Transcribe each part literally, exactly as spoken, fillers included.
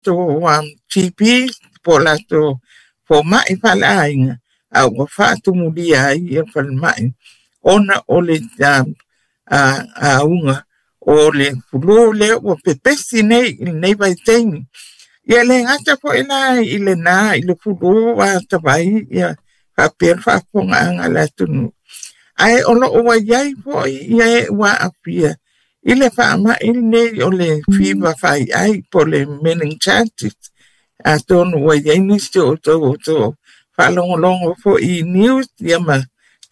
latou um, G P po o latou foma'i faleaiga a ua faatumulia ai ia falema'i ona o le um, auga o le fulu lea ua pepesi nei i lenei vaitaimi. Ia le gata fo'i la i lenā i le fulu ua atavai ia faapea le faafofogaaga a le atunuu, ae o loo ua iai fo'i ia e ua aafia i le faama'i lenei o le fiva faiai po o le meningitis. Atonu ua iai nisi o outou outou faalogologo fo'i i news ia ma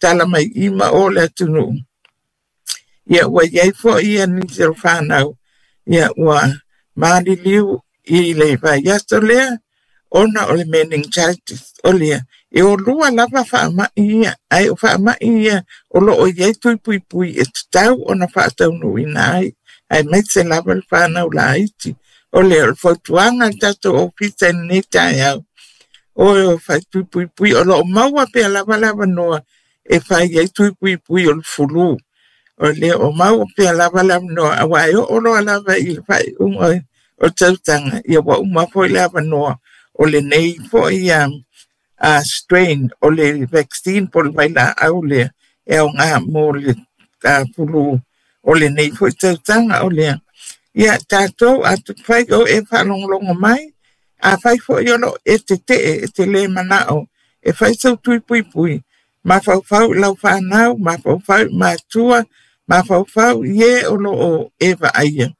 tala mai i ma o le atunuu. Ia ua iai fo'i ia nisi o fanau ia ua maliliu i le vaiaso lea ona o le meningitis. O lea e o lua lava faama'i ia, ae o faama'i ia o loo iai tui puipui e tatau ona faataunuuina ai, aemaise lava le fanau laiti. O lea o le fautuaga a le tatou ofisa i lenei taeao, o e o fai tui puipui o loo maua pea lava le avanoa e fai ai tui puipui o le fulu. O lea o maua pea lava le avanoa auā e oo loa lava i le faaiuga o tausaga, ia ua uma foi le avanoa o lenei fo'i um, uh, strain o le vaccine po o le vailaau lea e aogā mo le uh, fulu o lenei fo'i tausaga. O lea ia tatou atufai o e faalogologo mai, afai fo'i o loo e tetee e te lē manao e fai sau tui puipui, mafaufau i lau fanau, mafaufau i matua, mafaufau i e o loo e vaaia,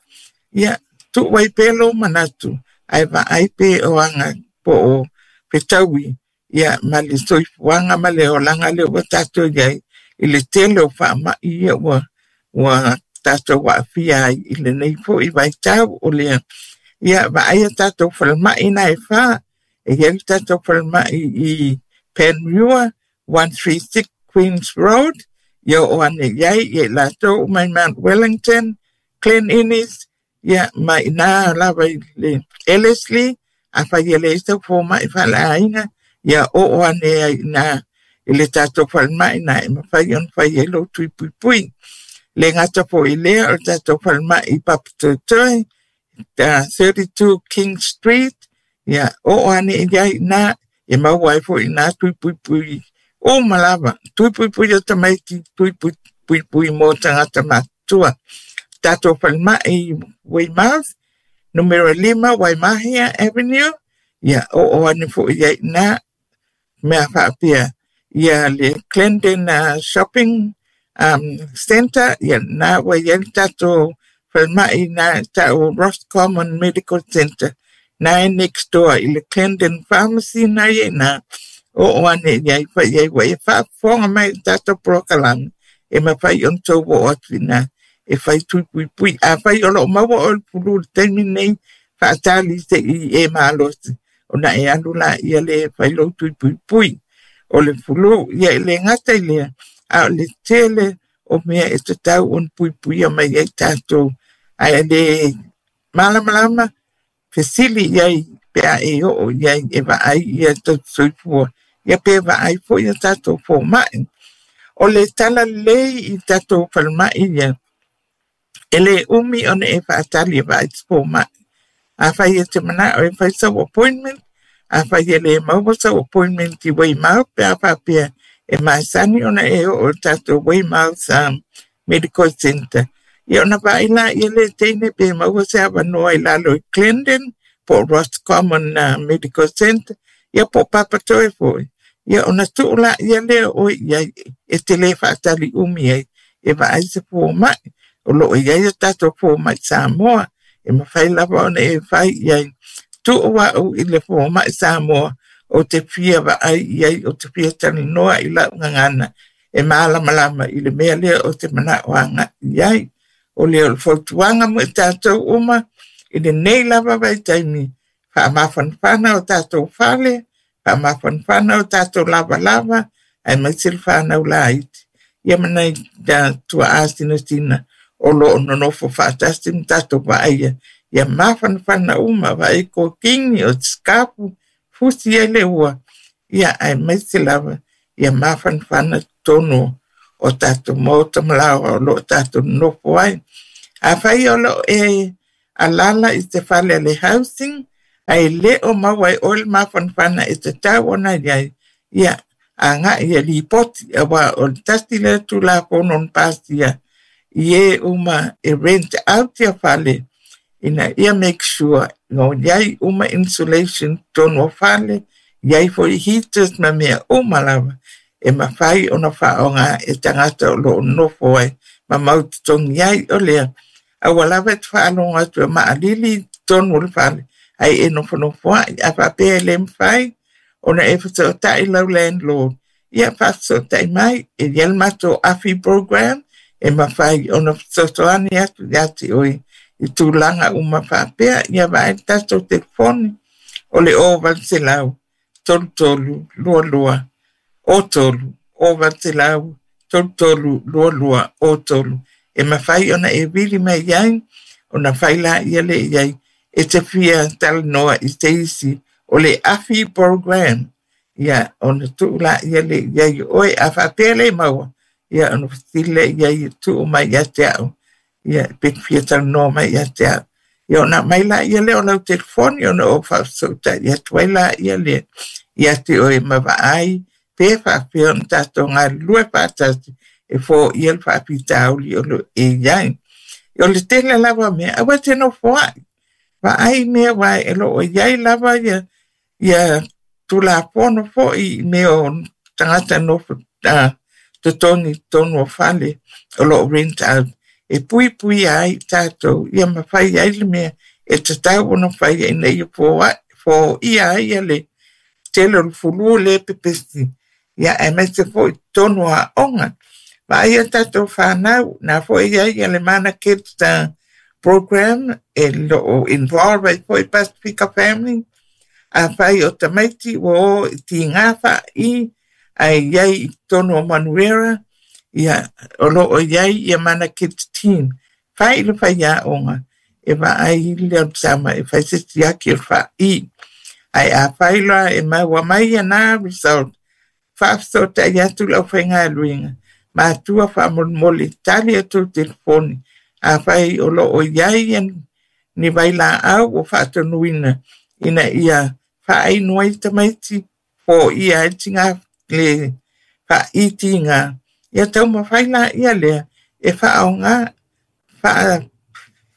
ia tuu ai pea lou manatu ae vaai pe o aga po o fetaui ia ma le soifuaga ma le olaga lea ua tatou iai i le tele o faama'i ia ua ua tatou aafia ai i lenei fo'i vaitau. O lea ia vaaia tatou falema'i na e fā, e iai le tatou falema'i i Panmure, one three six Queens Road, ia oo ane iai ia i latou uma i Mount Wellington, Glen Innes, ia ma inā lava i le Ellerslie. Afai e leai sau foma'i faleaiga, ia oo ane ai inā i le tatou falema'i na e mafai ona fai ai lou tui puipui. Le gata fo'i lea o le tatou falema'i i Papatoetoe, thirty-two King Street, ia oo ane iai inā e maua ai fo'i inā tui puipui uma lava, tui puipui o tamaiti, tui puipui mo tagata matutua. Tatou falema'i i Weymouth, numero lima Waimahia Avenue, ia oo ane fo'i iai inā mea faapea ia le Glendon uh, Shopping um, Centre, ia na ua iai le tatou falema'i na ta'u Roscommon Medical Centre, na e next door i le Glendon Pharmacy na ia ina oo ane iai fai ai ua e faafofoga mai i le tatou polokalame e mafai ona tou oo atu ina e fai tui puipui. Afai o loo maua oe le fulu i le taimi lenei, faatali se'i e malosi ona e alu laia lea e fai lou tui puipui o le fulu. Ia e le gata i lea, a o le tele o mea e tatau ona puipuia mai ai tatou, ae le malamalama fesili iai pe a e oo iai e vaai ia tausisoifua ia pe vaai fo'i ia tatou foma'i. O le tala lelei i tatou falema'i ia e lē umi ona e faatali e vaai se foma'i. Afai e te mana'o e fai sau appointment, afai e lē maua sau appointment i Weymouth, pe a faapea e masani ona e oo i le tatou Weymouth um, Medical Centre, ia ona vaai laia le teine pe maua se avanoa i lalo i Glendon po o Roscommon uh, Medical Centre, ia po o Papatoetoe fo'i, ia ona tuu laia lea oe iai e te lē faatali umi ai e vaai se foma'i. O loo iai a tatou foma'i Samoa e mafai lava ona e fai iai. Tuu a'u i le foma'i Samoa ou te fia vaai iai, ou te fia talanoa i la'u gagana e malamalama i le mea lea o te mana'o aga'i iai. O lea o le fautuaga mo i tatou uma i lenei lava vaitaimi, faamafanafana o tatou fale, faamafanafana o tatou lavalava, aemaise le fanau laiti ia ma nai tuaa sinasina o loo nonofo faatasi ma tatou vaaia. Ia mafanafana uma, vaai kokini o sikapu fusi ai le ua, ia aemaise lava ia mafanafana totonu o tatou maota ma laoa o loo tatou nonofo ai. Afai o loo e alala i se fale a le housing, Ae le o maua ai oe le mafanafana e tatau ona i ai, ia agai e lipoti, auā o le tasi lea Tulafono na pasia i e uma e rent out ia fale, ina ia make sure o i ai uma insulation totonu o fale, i ai foi heaters ma mea uma lava e mafai ona faaaoga e tagata o lo o nofo ai ma mau totogi ai. O lea, aua lava e te faalogo atu e maalili i totonu o le fale, ae e nofonofoa'i. A faapea e le mafai ona e fesootai lau landlord, ia faafesootai mai, e i ai le matou A F I program e mafai ona fesoasoani atu ia te oe i tulaga uma faapea. Ia vaai le tatou telefoni o le zero eight hundred thirty-three twenty-two zero three, zero eight hundred thirty-three twenty-two zero three, e mafai ona e vili mai ai ona fai laia lea i ai e te fia talanoa i se isi o le A F I program, ia ona tuu laia lea i ai o oe. A faapea le maua, ia ona fesili lea i ai e tuu mai ia te au, ia pe te fia talanoa mai ia te au. Ia ona aumai laia lea o lau telefoni ona ou faafesootai atu ai laia lea ia te oe ma vaai pe faapea ona tatou galulue faatasi e foia le faafitauli o lo e i ai. O le tele lava o mea, aua e te nofoa'i. Vaai mea aua e lo o i ai lava ia, ia Tulafono foi i mea o tagata nofo uh, totogi i totonu o fale o lo o rent out e puipuia ai tatou, ia ma fai ai le mea e tatau ona faia ina ia foia ai ia le tele o le flu le pepesi, ia aemaise foi i totonu o aoga. Vaai a tatou fanau, na foi i ai ia le Mana Kids uh, program e lo o involve ai foi Pasifika Family. Afai o tamaiti ua o i tigā fa'i ae i ai i totonu o Manuera, ia o lo o i ai ia Mana Kids team. Fai le faiaoga e vaai le tama e fai se siaki o le fa'i. Ae afai loa e maua mai ia na result, faafesootai atu le aufaigaluega. Matua faamolemole tali atu telefoni. Afai o lo o i ai ia ni vailaau ua faatonuina ina ia faainu ai tamaiti foia ai tiga le fa'i tiga, ia taumafai laia lea e faaaoga faa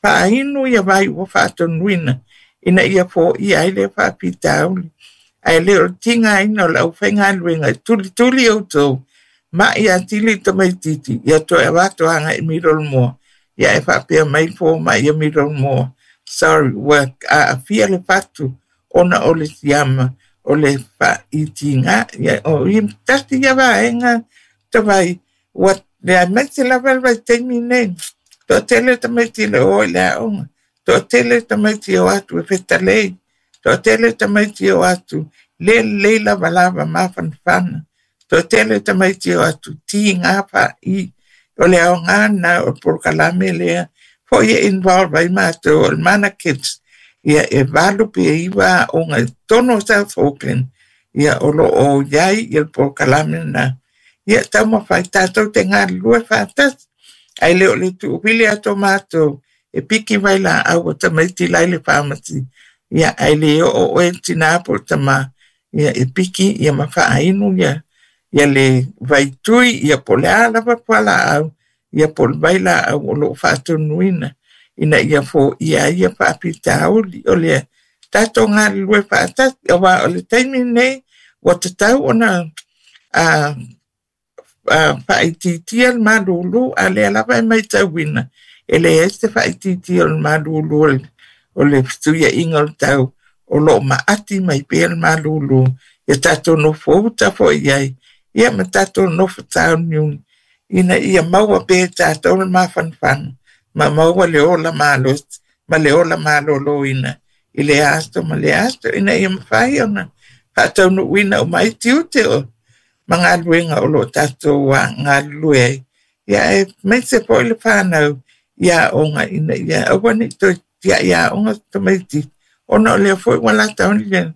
faainu ia vai ua faatonuina ina ia foia ai lea faafitauli. Ae le o le tigaina o le aufaigaluega e tulituli outou ma'i atili tamaititi ia toe avatu agai i Middlemore, ia e faapea mai le foma'i ia Middlemore, sorry, ua aafia le fatu ona o le siama o le fa'i tiga. Ia o ia tasi ia vaega tavai ua le aemaise lava le vaitaimi nei. Toatele tamaiti le o i le aoga, toatele tamaiti o atu e fetalei, toatele tamaiti o atu le lelei lavalava mafanafana, toatele tamaiti o atu tiga fa'i. O le aoga lena o le polokalame lea foi e involve ai matou o le Mana Kids, ia e valu pe iva aoga i totonu o South Auckland, ia o lo o i ai ia le polokalame lena. Ia taumafai tatou te galulue faatasi, ae le o le tuuvili atu o matou e piki vailaau o tamaiti la i le pharmacy, ia ae le oo oe le tinā po o le tamā, ia e piki ia ma faainu ia ia le vaitui, ia po o le a lava fualaau, ia po o le vailaau o lo o faatonuina ina ia foia ai ia faafitauli. O lea tatou galulue faatasi, auā o le taimi lenei ua tatau ona uh, uh, faaitiitia le malūlū, a lea lava e matauina e leai se faaitiitia o le malūlū o le, o le fesuiaiga o le tau o lo o maati mai pea le malūlū. Ia tatou nofo uta foi i ai, ia ma tatou nofo tauniuni ina ia maua pea e tatou le mafanafana ma maua le ola malosi ma le ola malōlōina i le aso ma le aso ina ia mafai ona faataunuuina uma ai tiute o ma galuega o lo o tatou galulue ai. Ia aemaise foi le fanau i aoga ina ia aua ne i toe tiai aoga tamaiti ona o lea foi ua lata ona ia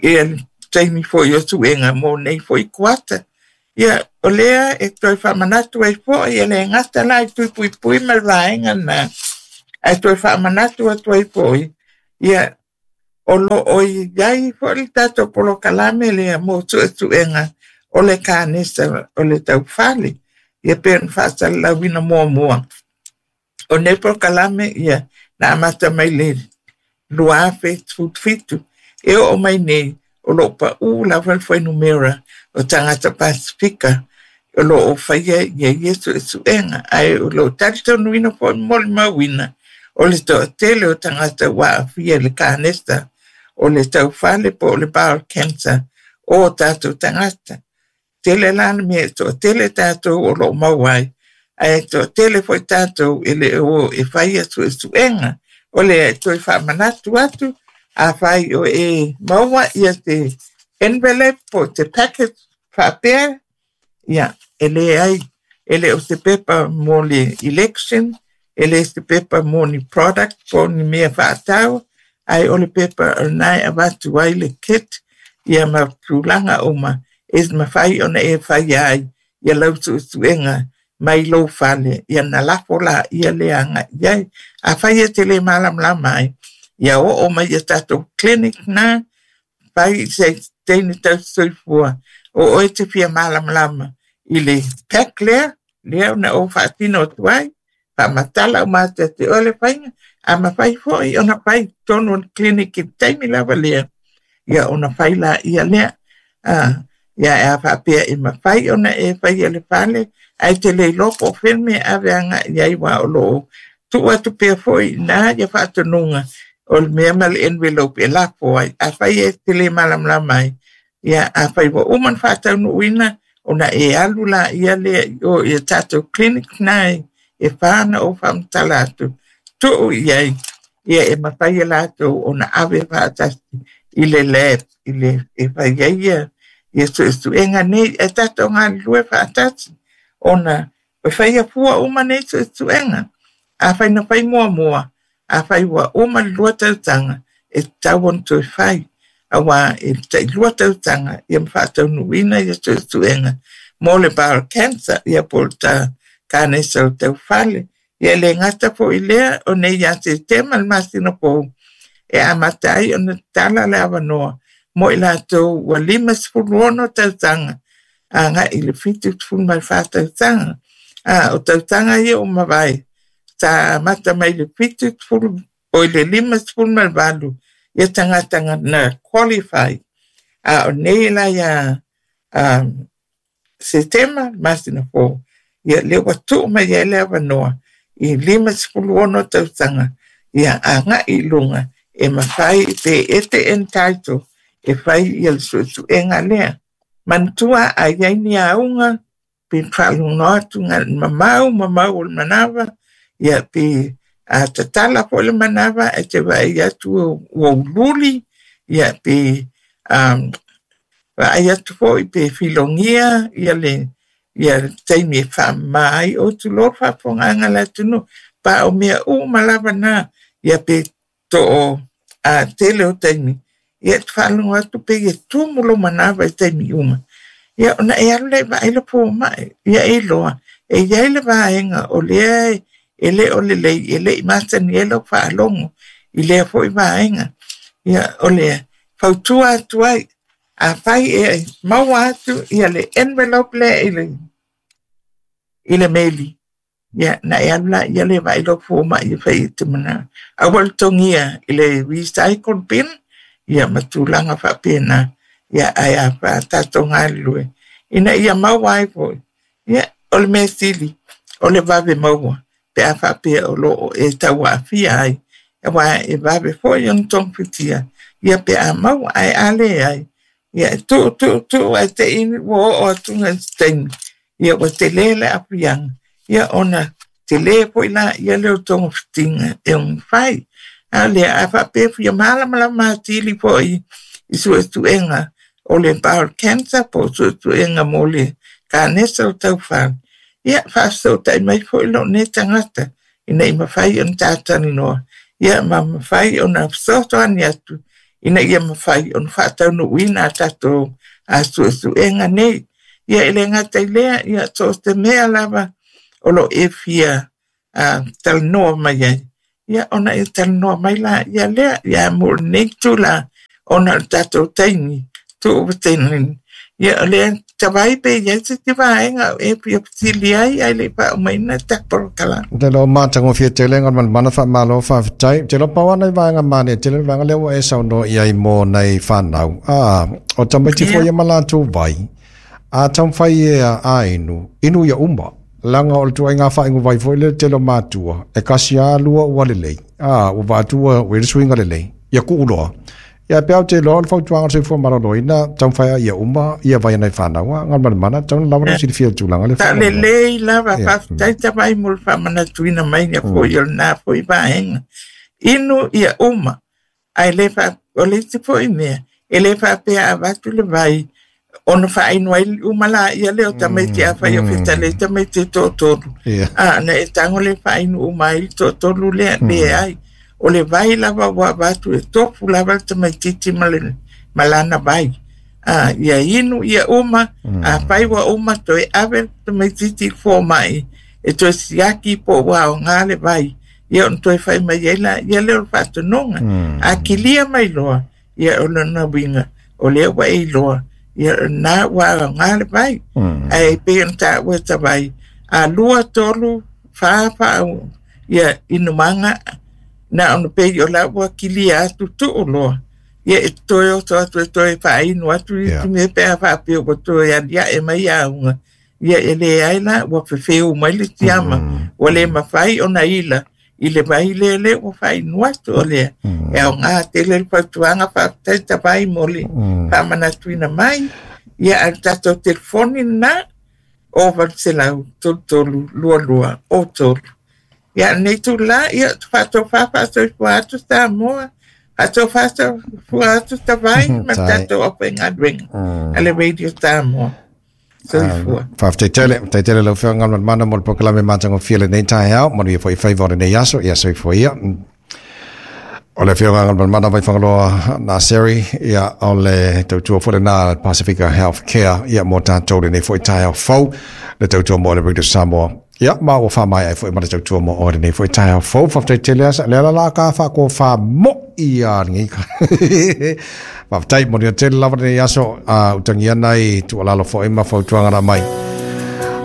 ia le taimi foi o suega mo nei foi kuata. Ia o lea e toe faamanatu ai foi, e le gata la i tui puipui ma le vaega lena, ae toe faamanatu atu ai foi ia O loo i ai foʻi le tatou polokalame lea mo suʻesuʻega o le kanesa o le taufale ia pei ona faasalalauina muamua. O nei polokalame ia na amata mai le lua afe sefulufitu e oo mai nei o loo paʻū lava le fuainumera o tagata Pasefika o loo faia ia ia suʻesuʻega ae o loo talitonuina foʻi molimauina o le toʻatele o tagata ua aafia i le kanesa o le taufale po o le bowel cancer o tatou tagata. Tele la le mea e toʻatele tatou o loo maua ai ae toʻatele foʻi tatou e le o e faia suʻesuʻega. O le toe faamanatu atu, afai o e maua ia te envelope po o te packet faapea, ia e leai e le o se pepa mo le election, e le se pepa mo ni product po o ni mea faatau, ae o le pepa o lena e avatu ai le kit ia ma tulaga uma e mafai ona e faia ai ia lau suʻesuʻega mai lou fale ia na lafo laia le agaʻi ai. Afai e te lē malamalama ai, ia oo mai ia tatou clinic na fai se teine tausisoifua o oe te fia malamalama i le pack lea lea ona ou faatino atu ai faamatala uma atu ia te oe le faiga a mafai foʻi ona fai totonu o le clinic i le taimi lava lea ia ona fai laia lea a ia e a faapea e mafai ona e faia le fale ae te le iloa po o fea le mea e ave agaʻi ai ua o loo tuu atu pea foʻi iná ia faatonuga o le mea ma le envelope e lafo ai afai e te lē malamalama ai. Ia afai ua uma ona faataunuuina ona e alu laia lea i o ia tatou clinic na e fa na ou faamatala atu tuu i ai ia e mafai e latou ona ave faatasi i le lab i le e fai ai ia ia suʻesuʻega nei e tatou galulue faatasi ona e faia fua uma nei suʻesuʻega. Afai na fai muamua, afai ua uma le lua tausaga e tatau ona toe fai auā e taʻilua tausaga ia ma faataunuuina ia suʻesuʻega mo le bowel cancer ia po o le ta kanesa o le taufale. Ia e lē gata foʻi lea o nei ia Setema le masina fou e amata ai ona tatala le avanoa mo i latou ua lima sefulu ono tausaga agaʻi i le fitu sefulu ma le fa tausaga a o tausaga ia ua mavae sa amata mai le fitu sefulu oi le lima sefulu ma le valu ia tagata na qualify a o nei la ia um, Setema masina fou ia lea ua tuu mai ai le avanoa i lima sefulu ono tausaga ia agaʻi i luga e mafai pe e te entitle e fai ia le suʻesuʻega lea. Manatua a i ai ni auga pe faalogo atu mamau mamau o le manava ia pe a tatala foʻi le manava e te vaai atu ua ululi ia pe um, vaai atu foʻi pe filogia ia le ia le taimi e faamamā ai o tulō le faafofogaaga a le atunuu pa o mea uma lava na ia pe too a tele o taimi ia e te faalogo atu pe ia tumu lou manava i taimi uma ia ona e alu lea e vaai le fomaʻi ia e iloa e iai le vaega o lea e lē o lelei e leʻi masani ai lau faalogo i lea foʻi vaega. Ia o le fautua atu ai afai e maua atu ia le envelope lea i le i le meli ia na e alu laia lea e vaai lou fomaʻi e fai e te mana aua le togia i le recycle bin ia ma tulaga faapena ia ae a tatou galulue ina ia maua ai foʻi ia o le mea sili o le vave maua pe a faapea o loo e tauaafia ai auā e vave foʻi ona togafitia ia pe a maua ae a lē ai ia e tuu tuu tuu ae teʻi ua oo atuga i se taimi ia ua telē le aafiaga ia ona telē foʻi laia lea o togafitiga e omafai a lea a faapea fia malamalama atili foʻi i suʻesuʻega o le bowel cancer po o suʻesuʻega mo le kanesa o taufale ia faafesoʻotaʻi mai foʻi loo nei tagata ina ia mafai ona tatalanoa ia ma mafai ona fesoasoani atu ina ia mafai ona faataunuuina a tatou a suʻesuʻega nei. Ia e lē gata i lea ia so o se mea lava o loo e fia a talanoa mai ai Ia ona e talanoa mai laia lea, ia mo lenei itulā ona o le tatou taimi tuuvatelaina. Ia o lea tavai pe i ai se isi vaega o e fia fesili ai ae le i faaumaina le tatou polokalame. Te iloa matagofie tele Galumalemana faamalo faafetai. Ou te iloa pau lava nai vaega manaia tele le vaega lea ua e saunoa i ai mo nai fanau. A, o tamaiti foi Ia. ia ma latou vai, a taumafai e a inu, inu ia uma. Leaga o le ituaiga faaigu vai foi lea le tele o matua, e kasi lava lua ua lelei. A, ua vaai atu ua ua i ai le suiga lelei, ia tuu loa. Ia pe au te iloa o le fautuaga o le soifua maloloina, taumafai lava ia uma ia vai nai fanau. A, Galumalemana, tatau ona lava lou silafia i le tulaga lea faamolemole. Lelei lava, Ia. faafetai tavai mo le faamanatuina mai ia foi o lena foi vaega. Inu ia uma, ae le faa, o le isi foi mea, e le faapea avatu le vai, ona faainu ai uma laia lea o tamaiti afai o fetalai tamaiti e toatolu. Ia. A, na e tago le faainu uma ai le toatolu lea, leai. O le vai lava ua avatu e tofu lava le tamaitiiti ma le ma lana vai. A, ia inu ia uma, afai ua uma toe ave le tamaitiiti i le fomai, e toe siaki po ua aoga le vai. Ia ona toe fai mai ai laia lea o le faatonuga. A kilia mai loa, ia o lona uiga, o lea ua e iloa, ia na ua aoga le vai. Ae pei ona taua e tavai, a lua, tolu, fa faa, ia inumaga, na ona pei o la ua kilia atu tuu loa. Ia e toe oso atu e toe faainu atu Ia. isi mea pe a faapea ua toe aliae mai auga. Ia e leai la ua fefeu mai le tiama. Ua le mafai ona ila i le vai lea lea ua faainu atu o lea. E aoga tele le fautuaga faafetai tavai mo le faamanatuina mai. Ia a le tatou telefoni lena o valu selau tolu tolu lua lua o tolu. Ia lenei itulā, ia faatofa faasoifua atu Samoa, faatofa soifua atu tavai ma Tai. tatou aufaigaluega a le Radio Samoa. Soifua. Faafetai tele, faafetai tele lau Afioga Galumalemana mo le polokalame matagofie lenei taeao, manuia foi faiva o lenei aso, ia soifua ia. O le Afioga Galumalemana Vaifagaloa Naseri, ia o le tautua foi lena Pasifika Healthcare, ia mo tatou lenei foi taeao fou, le tautua mo le Radio Samoa. Ia, ma ua faamaea ai foi ma le tautua mo oe lenei foi taeao fou. Faafetai tele asa, lea la la ka faakofa mo ia lenei. Faafetai, manuia tele lava lenei aso, uh, utagia nai tuualalo foi ma fautuaga na mai.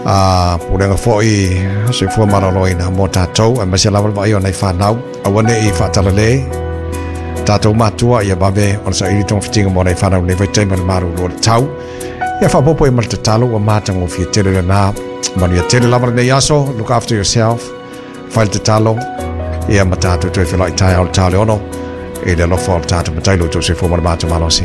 A pulega foi soifua maloloina mo tatou, aemaise lava le vaai o nai fanau, aua ne i faatalale tatou matua ia vave ona saili togafitiga mo nai fanau lenei vaitaimi o le malolo o le tau. Ia faaopoopo i ma le tatalo ua matagofie tele lena. Manuia tele lava lenei aso, look after yourself, fai le tatalo, ia ma tatou toe feiloai taeao i le ta o le ono, i le alofa o le tatou Matai lo outou soifua ma le matou malosi.